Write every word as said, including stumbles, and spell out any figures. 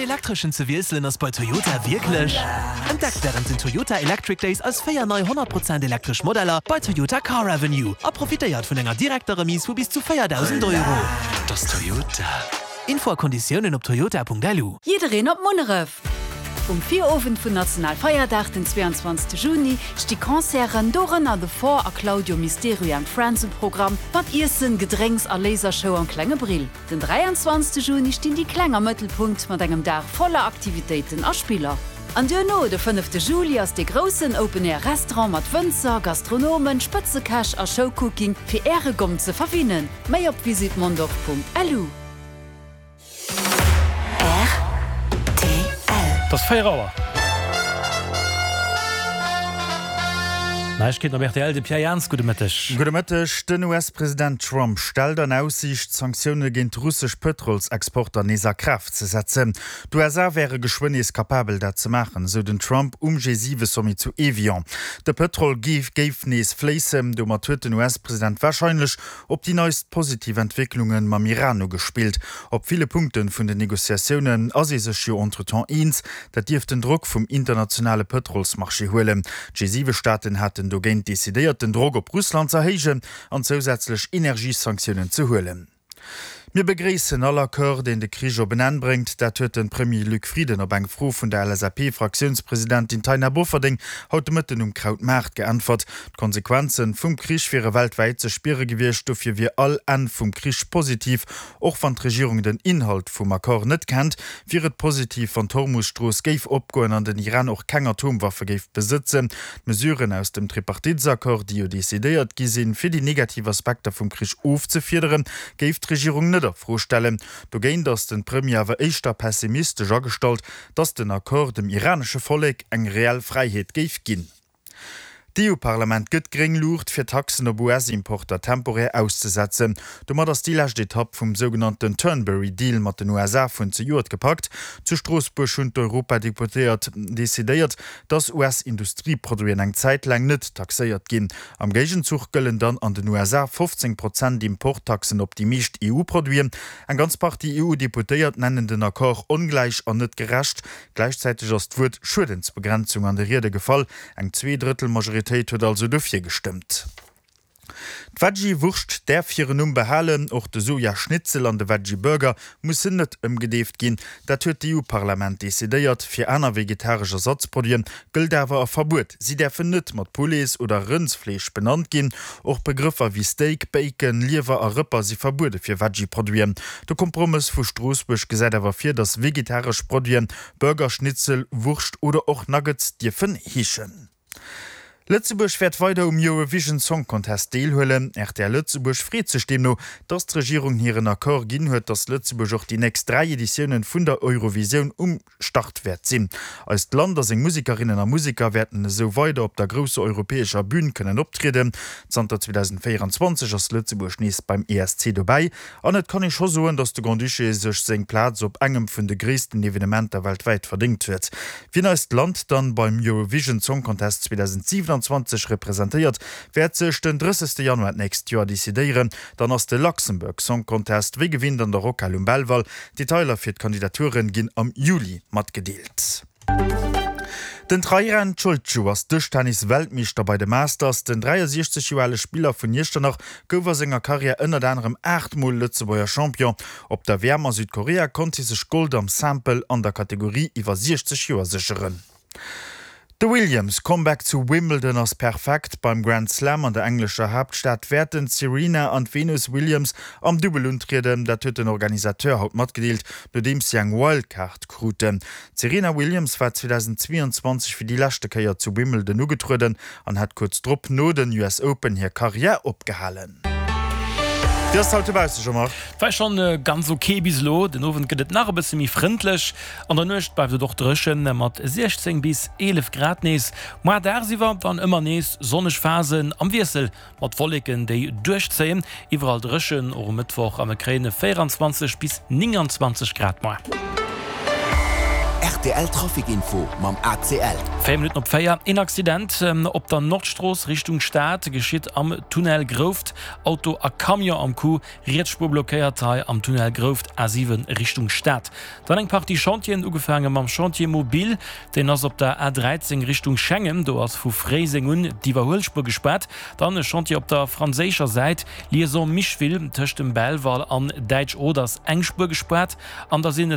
elektreschen ze wiesselen ass bei Toyota wierklech. Entdeckt wärend den Toyota Electric Days eis véier nei honnert Prozent elektresch Modeller bei Toyota Car Avenue a profitéiert vun enger direkter Remise vu bis zu véierdausend Euro. Et ass Toyota. Info a Konditiounen op toyota Punkt lu. Jiddereen op Munneref! Um Virowend vun Nationalfeierdag, den zweiundzwanzegste Juni, sti Concerten, dorënner The Four a Claudio Misterio and Friends um Programm, mat Iessen, Gedrénks a Lasershow am Klenge Brill. Den dräianzwanzegste Juni stinn déi Kleng am Mëttelpunkt mat engem Dag voller Aktivitéiten a Spiller. An duerno, de fënnefte Juli, ass dee groussen Open-Air Restaurant mat Wënzer, Gastronomen, Spëtzekäch a Showcooking fir Äre Gomm ze verwinnen. Méi op visitmondorf Punkt lu. Et ass véier Auer. Neiegkeeten op rtl, de Pierre Jans, gudde Mëtteg. Gudde Mëtteg. Den U S-President Trump stellt an Aussiicht, d'Sanktioune géint russesch Pëtrolsexporter nees a Kraaft ze setzen. D'U S A wäre geschwënn nees kapabel, dat ze maachen, esou den Trump um G siwe Sommet zu Evian. De Pëtrol géif nees fléissen. Domat huet den U S-President warscheinlech op déi neist positiv Entwécklunge mam Iran ugespillt. Op ville Punkte vun den Negociatiounen ass ee sech jo entretemps eens. Dat dierft den Drock vum internationale Pëtrolsmarché huelen. D'G siwe Staaten haten dogéint decidéiert, den Drock op Russland z'erhéijen an zousätzlech Energiesanktiounen ze huelen. Mir begréissen all Accord, deen de Krich op en Enn bréngt. Dat huet de Premier Luc Frieden op eng Fro vun der L S A P-Fraktiounspresidentin Taina Bofferding haut de Mëtten um Krautmaart geäntwert. D'Konsequenze vum Krich wiere weltwäit ze spiere gewiescht, dofir wier all Enn vum Krich positiv. Och wann d'Regierung den Inhalt vum Accord net kennt, wier et positiv, wann d'Hormus-Strooss géif opgoen an den Iran och keng Atomwaffe géif besëtzen. D'Mesuren aus dem Tripartitesaccord, déi jo decidéiert gi sinn, fir déi negativ Aspekter vum Krich ofzefiederen, géif d'Regierung net a Fro stellen. Dogéint ass de Premier awer éischter pessimistesch agestallt, datt den Accord dem iranesche Vollek eng reell Fräiheet géif ginn. D'EU-Parlament gëtt gréng Luucht, fir Taxen op U S-Importer temporär auszesetzen. Domat ass déi lescht Etapp vum sougenannten Turnberry Deal mat den U S A vun zejoert gepackt. Zu Stroossbuerg hunn d'Europadeputéiert decidéiert, datt U S-Industrieproduiten eng Zäit laang net taxéiert ginn. Am Géigenzuch gëllen dann an den U S A fofzéng Prozent Importtaxen op déi meescht E U-Produiten. Eng ganz Partie E U-Deputéiert nennen den Accord ongläich an net gerecht. Gläichzäiteg ass d'Wuert Schuedensbegrenzung an de Riede gefall. Eng Zweedrëttel-Majoritéit huet also dofir gestëmmt. D'Veggie-Wurscht däerf hiren Numm behalen, och de Soja-Schnitzel an de Veggie-Burger mussen net ëmgedeeft ginn. Dat huet d'E U-Parlament decidéiert. Fir aner vegetaresch Ersatzproduite gëllt awer e Verbuet, Si däerfen net mat Poulets oder Rëndsfleesch benannt ginn. Och Begrëffer wéi Steak, Bacon, Liewer a Rëpper si verbuede fir Veggie-Produiten. De Kompromëss vu Stroossbuerg gesäit awer vir, datt vegetaresch Produiten Burger, Schnitzel, Wurscht oder och Nuggets dierfen heeschen. Lëtzebuerg wäert weider um Eurovision Song Contest deelhuelen. R T L Lëtzebuerg freet sech deemno, datt d'Regierung hiren Accord ginn huet, datt Lëtzebuerg och déi nächst dräi Editiounen vun der Eurovisioun um Start wäert sinn. Eist Land a seng Musekerinnen a Museker wäerten esou weider op der grousser europäescher Bün kënnen optrieden. Zanter zweedausendvéieranzwanzeg ass Lëtzebuerg nees beim E S C dobäi an et kann ee scho soen, datt de Grand-Duché sech seng Plaz op engem vun de gréissten Evenementer weltwäit verdéngt huet. Wien eist Land dann beim Eurovision Song Contest zweedausendsiwenanzwanzeg representéiert, wäert sech den drëssegste Januar d'nächst Joer decidéieren. Dann ass de Luxembourg Song Contest wéi gewinnt an der Rockhal um Belval. Detailer fir d'Kandidaturen ginn am Juli matgedeelt. Den Trairan Ciolciu ass Dëschtennis-Weltmeeschter bei de Masters. Den dräiasiechzeg Joer ale Spiller vun Iechternach gouf a senger Karriär ënnert anerem aacht Mol Lëtzebuerger Champion. Op der W M a Südkorea konnt hie sech Gold am Simple an der Kategorie iwwer siechzeg Joer sécheren. De Williams Comeback zu Wimbledon ass perfekt. Beim Grand Slam an der englescher Haaptstad wäerten d'Serena an d'Venus Williams am Dubbel untrieden. Dat huet den Organisateur haut matgedeelt, nodeems si eng Wildcard kruten. D'Serena Williams war zweedausendzweeanzwanzeg fir déi leschte Kéier zu Wimbledon ugetrueden an hat kuerz drop no den U S Open hir Karriär opgehalen. Wéi ass et haut dobausse, Jean-Marc? War schonn ganz ok bis elo. Den Owend gëtt et nach e bësse méi frëndlech. An der Nuecht bleift et och dréchen mat siechzéng bis eelef Grad nees. Moar dagsiwwer dann ëmmer nees sonneg Phasen am Wiessel mat Wolleken déi duerchzéien. Iwwerall dréchen och um Mëttwoch a mir kréien véieranzwanzeg bis nénganzwanzeg Grad moar. Rtl Trafic Info mam ACL. Véier Minutten op véier, Een Accident op der Nordstrooss Richtung Stad geschitt am Tunnel Grouft. Auto a Camion am Coup, riets Spuer blockéiert hei am Tunnel Grouft, A siwen Richtung Stad. Dann eng Partie Chantieren, ugefaange mam Chantier mobile, deen ass op der A dräizéng Richtung Schengen, do ass vu Fréiseng un d'Iwwerhuelspuer gespaart. Dann e Chantier op der franséischer Säit, Liaison Micheville, tëscht dem Belval an Däitsch Oder ass eng Spuer gespaart an da sinn et